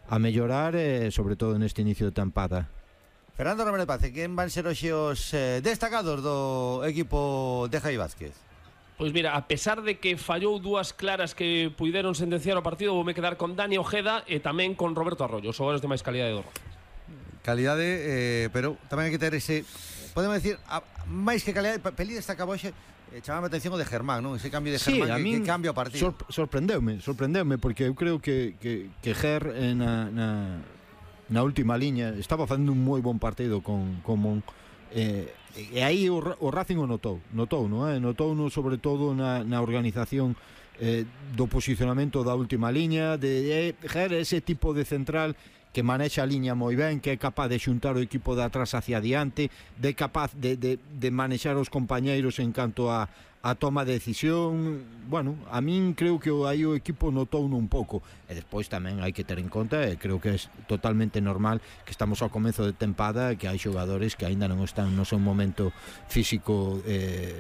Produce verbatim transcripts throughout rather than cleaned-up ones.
a mellorar, eh, sobre todo neste inicio de tempada. Fernando Romero de Paz, quen van ser hoxe os eh, destacados do equipo de Javi Vázquez? Pois mira, a pesar de que fallou dúas claras que puideron sentenciar o partido, voume quedar con Dani Ojeda e tamén con Roberto Arroyo, os xogadores de máis calidade do Rocing. Calidade, eh, pero tamén hai que ter ese, podemos decir, a, máis que calidade, Pelí destacaba hoxe, eh, chamaba a atención o de Germán, non? Ese cambio de Germán, sí, que, que cambia o partido. Sorp- sorprendeume, sorprendeume, porque eu creo que, que, que Ger eh, na, na, na última liña estaba facendo un moi bon partido con, con Mon, eh, e aí o, o Racing o notou, notou, non é? Notou no, sobre todo na, na organización eh, do posicionamento da última liña, de eh, Ger ese tipo de central que manexa a liña moi ben, que é capaz de xuntar o equipo de atrás hacia adiante, de capaz de, de, de manexar os compañeiros en canto a, a toma de decisión. Bueno, a min creo que aí o equipo notou un pouco, e despois tamén hai que ter en conta, e creo que é totalmente normal que estamos ao comezo de tempada, que hai xogadores que aínda non están no seu momento físico eh,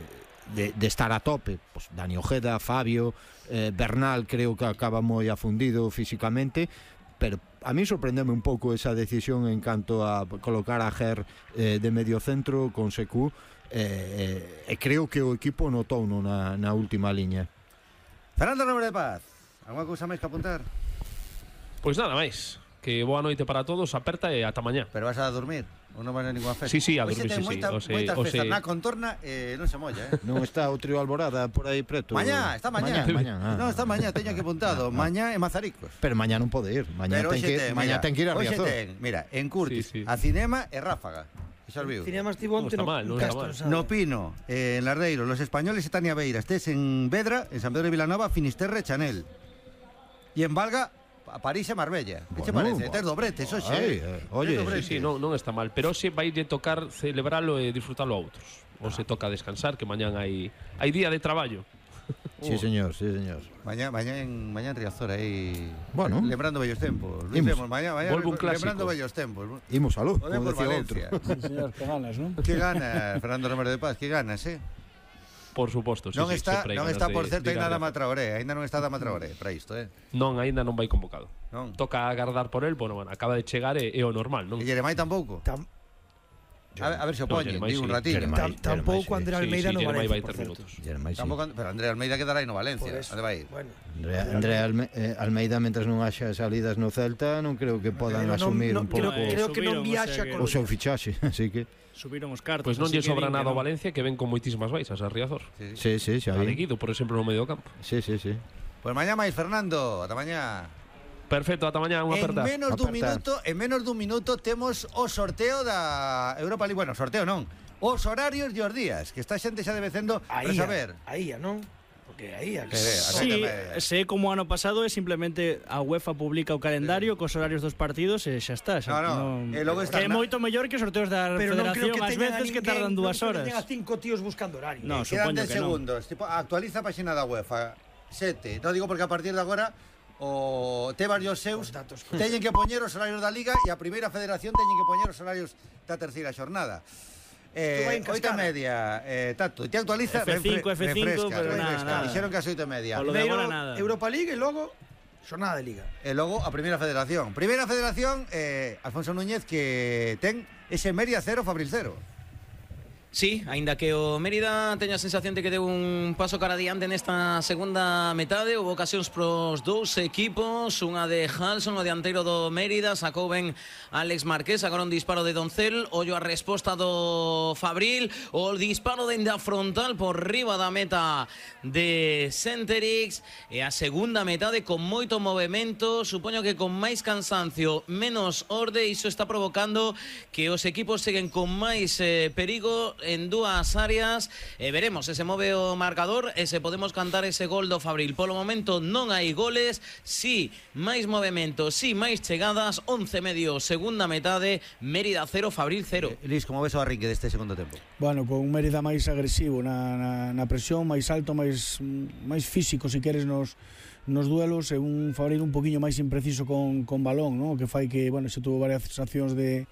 de, de estar a tope. Pues Dani Ojeda, Fabio, eh, Bernal creo que acaba moi afundido físicamente, pero a mí sorprendeme un pouco esa decisión en canto a colocar a Ger eh, de medio centro con Secu, eh, e eh, creo que o equipo notou no na, na última liña. Fernando Romero de Paz, alguna cousa máis que apuntar? Pois nada máis, que boa noite para todos, aperta e ata mañá. Pero vas a dormir? Ou non vas a ninguna festa? Sí, sí, a Hoxe dormir, ten sí, moita, sí. moitas O se, festas o se... na contorna, eh, non se molla, eh? Non está o trío Alborada por aí preto? Mañá, está mañá. Mañá, mañá ah. Non, está mañá, teño aquí apuntado. Ah, ah. Mañá en Mazaricos. Pero mañá non pode ir. Mañá ten que, ten, mañá mira, ten que ir a Riazor. Ten, mira, en Curtis, sí, sí. A Cinema e Ráfaga. Xa viu. Cinema Estivonte no, no, no, Castro, no Pino, eh, en Lardeiro, Los Españoles e Tania Beira. Estés en Vedra, en San Pedro de Vilanova, Finisterre, Chanel. E en Valga, a París e Marbella. Que che Bueno, parece? Tes dobretes, oxe. Ay, eh, oye, sí, sí, non, non está mal, pero hoxe vai de tocar celebralo e disfrutalo a outros. Ou se toca descansar, que mañán hai hai día de traballo. Sí, señor, sí, señor. Mañá, mañá en mañá en Riazor aí. Bueno, lembrando vellos tempos. Luis Imos. Lemos, mañá, mañá Volve un clásico. lembrando vellos tempos. Imos a luz, O como por decía outro. Valencia. Sí, señor, que ganas, non? Que gana Fernando Romero de Paz, que ganas, eh? Por suposto, sí, non sí, está, non está por certo de, de ainda Dama Traoré, ainda non está Dama Traoré para isto, eh. Non, ainda non vai convocado. Non. Toca agardar por el, bueno, bueno, acaba de chegar e é o normal, non? E Jeremai tampouco. Tam A ver, a ver se o No, poñen, Jeremai digo un sí. ratillo. Jeremai. tam tampouco sí. André Sí, Almeida sí, no Jeremai Valencia, vai por ter certo. minutos. Jeremai, sí. Tampouco, pero André Almeida quedará aí no Valencia. Onde vai ir? Bueno, André, André Alme, eh, Almeida, mentres non haxa salidas no Celta, non creo que podan pero non- asumir non- un pouco creo, creo que non Subiron, viaxa o sea que- con o seu fichaxe, así que Subiron os cartos. Pois non así lle que sobra din que nada ao non. Valencia, que ven con moitísimas baixas a Riazor. sí, sí, xa A vi. de Guido, por exemplo, no medio campo. Sí, sí, sí. Pois mañá máis, Fernando, ata mañá. Perfecto, ata mañá, unha En aperta. menos dun Aperta. minuto, en menos dun minuto temos o sorteo da Europa League. Bueno, sorteo non. Os horarios de os días, que esta xente xa debe cendo para aí, saber. aí, non? Porque aí, Que ve, a Sí, media. se é como o ano pasado é simplemente a UEFA publica o calendario cos horarios dos partidos e xa está. Xa, No, no, e logo está que é na- moito mellor que os sorteos da pero non creo Federación que ás teñan a veces que ninguén, tardan dúas non creo horas. que teñan a cinco tíos buscando horario. No, Quedan supoño dez que non. segundos. Tipo, actualiza a página da UEFA. Sete. Non digo porque a partir de agora o Tebas e os seus Os datos. teñen que poñer os horarios da Liga e a primeira federación teñen que poñer os horarios da terceira xornada. Isto vai Eh, en oito e cascada. media, eh, Tato, te actualiza F cinco, refre- F cinco, refresca, pero nada, refresca. nada. Dixeron que as oito e media. Polo de Primeiro agora nada. Europa League e logo xornada de Liga. E logo a primeira federación. Primeira federación, eh, Alfonso Núñez, que ten ese Meria cero, Fabril cero. Sí, aínda que o Mérida teña a sensación de que deu un paso cara adiante nesta segunda metade, houve ocasións pros dous equipos, unha de Halson, o dianteiro do Mérida, sacou ben Alex Marqués, agora un disparo de Doncel, ollo a resposta do Fabril, o disparo dende a frontal por riba da meta de Centerix, e a segunda metade con moito movemento, supoño que con máis cansancio, menos orde, iso está provocando que os equipos seguen con máis eh, perigo en dúas áreas e veremos se se move o marcador e se podemos cantar ese gol do Fabril. Polo momento non hai goles, si máis movimento, si máis chegadas, once e medio segunda metade, Mérida cero, Fabril cero. Eh, Luis, como ves o arrinque deste segundo tempo? Bueno, con un Mérida máis agresivo na, na, na presión, máis alto, máis máis físico, se queres, nos nos duelos, e un Fabril un poquinho máis impreciso con, con balón, ¿no? Que fai que, bueno, se tuvo varias accións de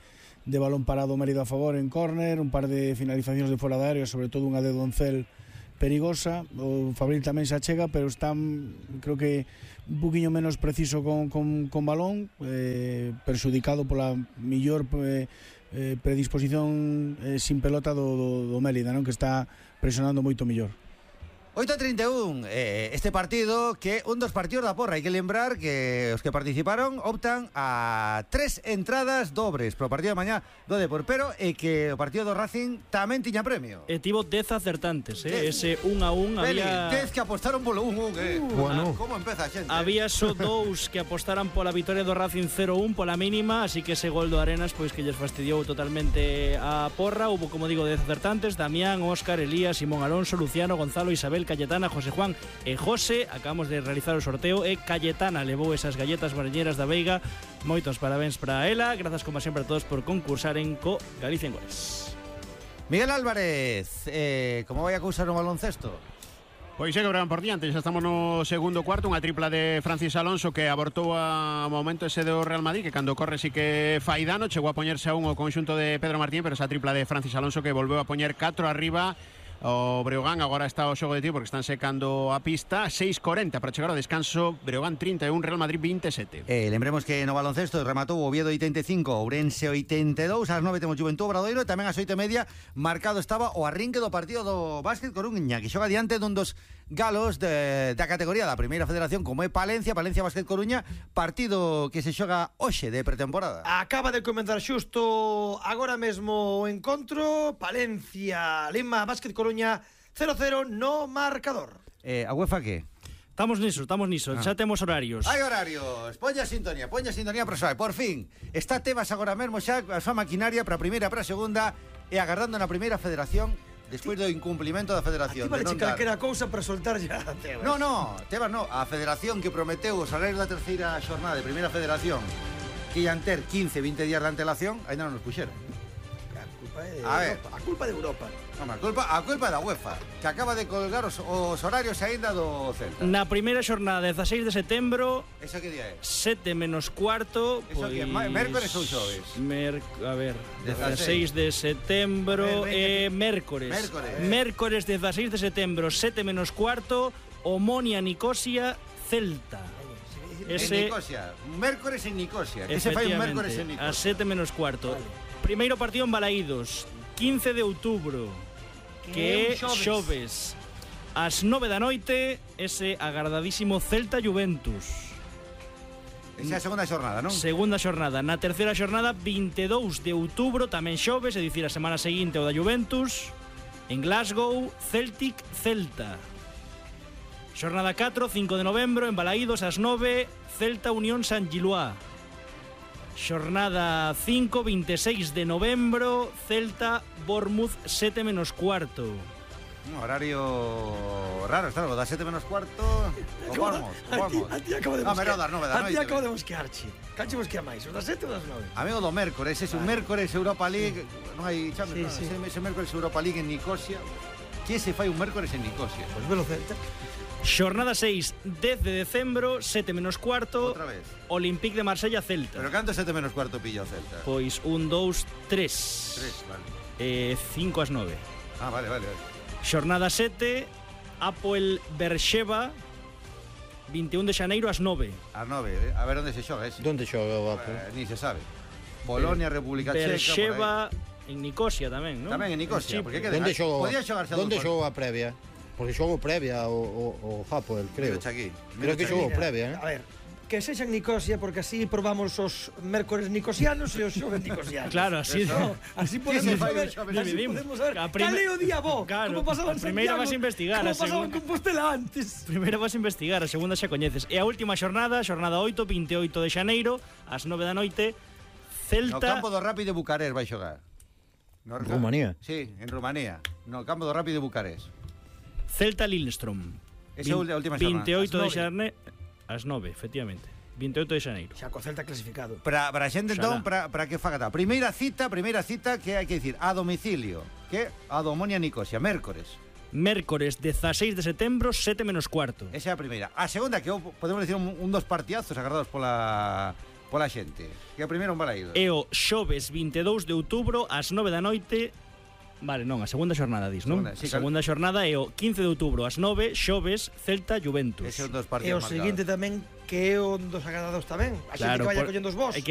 de balón parado Mérida a favor en córner, un par de finalizacións de fora da área, sobre todo unha de Doncel perigosa. O Fabril tamén se achega, pero está, creo que, un poquinho menos preciso con, con, con balón, eh, perxudicado pola millor eh, eh, predisposición eh, sin pelota do, do, do Mérida, non? Que está presionando moito mellor. oito e trinta e un, eh, este partido que un dos partidos da porra. Hai que lembrar que os que participaron optan a tres entradas dobres pro partido de mañá do Depor, pero e que o partido do Racing tamén tiña premio. E tivo dez acertantes, eh? Ese un a un Beli, había... dez que apostaron polo un un, eh. Uh, bueno. Como empeza a xente? Había só dous que apostaran pola vitoria do Racing cero un pola mínima, así que ese gol do Arenas pois que lles fastidiou totalmente a porra. Hubo, como digo, dez acertantes: Damián, Óscar, Elías, Simón Alonso, Luciano, Gonzalo, Isabel, Cayetana, José Juan e José. Acabamos de realizar o sorteo e Cayetana levou esas galletas mariñeras da Veiga. Moitos parabéns para ela. Grazas como sempre a todos por concursaren co Galicia en Goles. Miguel Álvarez, eh, como vai a cousar no baloncesto? Pois é que verán por diante, xa estamos no segundo cuarto, unha tripla de Francis Alonso que abortou a momento ese do Real Madrid, que cando corre sí que fai dano, chegou a poñerse a un o conxunto de Pedro Martín, pero esa tripla de Francis Alonso que volveu a poñer catro arriba o Breogán. Agora está o xogo de tiro porque están secando a pista. Seis cuarenta para chegar ao descanso. Breogán trinta e un, Real Madrid vinte e sete. Eh, lembremos que no baloncesto rematou o Oviedo oitenta e cinco, Ourense oitenta e dous. Ás nove temos Juventud Obradoiro e tamén ás oito e media marcado estaba o arrinque do partido do Básquet Coruña, que xoga diante dun dos galos de, da categoría da Primeira Federación, como é Palencia, Palencia Básquet Coruña, partido que se xoga hoxe de pretemporada. Acaba de comenzar xusto agora mesmo o encontro. Palencia Lima Básquet Coruña cero cero no marcador. Eh, a UEFA que? Estamos niso, estamos niso, ah. Xa temos horarios. Hai horarios, poña sintonía, poña sintonía para saber. Por fin, está Tebas agora mesmo xa a súa maquinaria para a primeira, para a segunda e agardando na Primeira Federación despois do incumplimento da Federación. A ti vale che calquera cousa para soltar ya a Tebas. No, no, Tebas no, a Federación que prometeu os salarios da terceira xornada de Primeira Federación que ian ter quince, vinte días de antelación, ainda non nos puxeron. A culpa é de a ver. Europa. A culpa de Europa. Non, a culpa, a culpa é da UEFA, que acaba de colgar os, os horarios aínda do Celta. Na primeira xornada, dezaseis de setembro. Eso que día é? sete menos cuarto. Eso pois... que é? Mércores ou xoves? Mer... A ver, dezaseis de setembro e mércores. Mércores. Mércores, dezaseis de setembro, sete menos cuarto, Omonia, Nicosia, Celta. Ese... En Nicosia, mércores en Nicosia. Que se fai un mércores en Nicosia? A sete menos cuarto. Vale. Primeiro partido en Balaídos, quince de outubro, que é xoves. Ás nove da noite, ese agardadísimo Celta Juventus. Esa é a segunda xornada, non? Segunda xornada. Na terceira xornada, vinte e dous de outubro, tamén xoves, é dicir, a semana seguinte o da Juventus, en Glasgow, Celtic Celta. Xornada catro, cinco de novembro, en Balaídos, ás nove, Celta Unión San Giluá. Xornada cinco, vinte e seis de novembro, Celta Bournemouth, sete menos cuarto. Un horario raro, está algo, da sete menos cuarto. O Bournemouth, o Bournemouth. A ti acabo de mosquear. A ti acabo de mosquearche. Canche mosquea máis, os das sete ou das nove? Amigo do mércores, ese un mércores Europa League, non hai chame, sí, sí. Ese mércores Europa League en Nicosia. Que se fai un mércores en Nicosia? Pois velo Celta. Xornada seis, dez de decembro, sete menos cuarto. Outra vez. Olympique de Marsella, Celta. Pero canto sete menos cuarto pilla o Celta? Pois un, dous, tres. Tres, vale. Eh, cinco ás nove. Ah, vale, vale, vale. Xornada sete, Apoel Berxeva, vinte e un de xaneiro ás nove. Ás nove, eh? A ver onde se xoga ese. Donde xoga o Apoel? Eh, ni se sabe. Polonia, República Checa. Berxeva en Nicosia tamén, non? Tamén en Nicosia, porque que Donde xogou? Podía xogarse a Donde dous xogou a previa? Porque xogou previa o, o, o Apoel, creo. Aquí. Creo que xogou previa, eh? A ver, que sexan Nicosia, porque así probamos os mércores nicosianos e os xoves nicosianos. Claro, así. No, así podemos saber, así podemos saber. Cal é o día bo? Claro, como pasaban primeira vas a investigar, como a pasaban segunda... Compostela antes. Primeira vas a investigar, a segunda xa coñeces. E a última xornada, xornada oito, vinte e oito de xaneiro, ás nove da noite, Celta... No campo do Rapid de Bucarest vai xogar. No Rumanía? Sí, en Rumanía. No campo do Rapid de Bucarest. Celta Lillestrøm. Esa é a última xornada. vinte e oito de xaneiro, ás nove, efectivamente. vinte e oito de xaneiro. Xa co Celta clasificado. Para para a xente entón, para para que faga ta. Primeira cita, primeira cita que hai que dicir a domicilio, que a do Omonia Nicosia, mércores. Mércores, dezaseis de setembro, sete menos cuarto. Esa é a primeira. A segunda que podemos dicir un, un dos partidazos agardados pola pola xente. Que a primeira un Balaídos. E o xoves vinte e dous de outubro ás nove da noite, Vale, non, a segunda xornada dis, non? Segunda, sí, a segunda xornada é o quince de outubro ás nove, xoves, Celta Juventus. Ese é un dos E partidos o seguinte tamén que é un dos agradados tamén. A xente que vaya collendo os vos. Hai que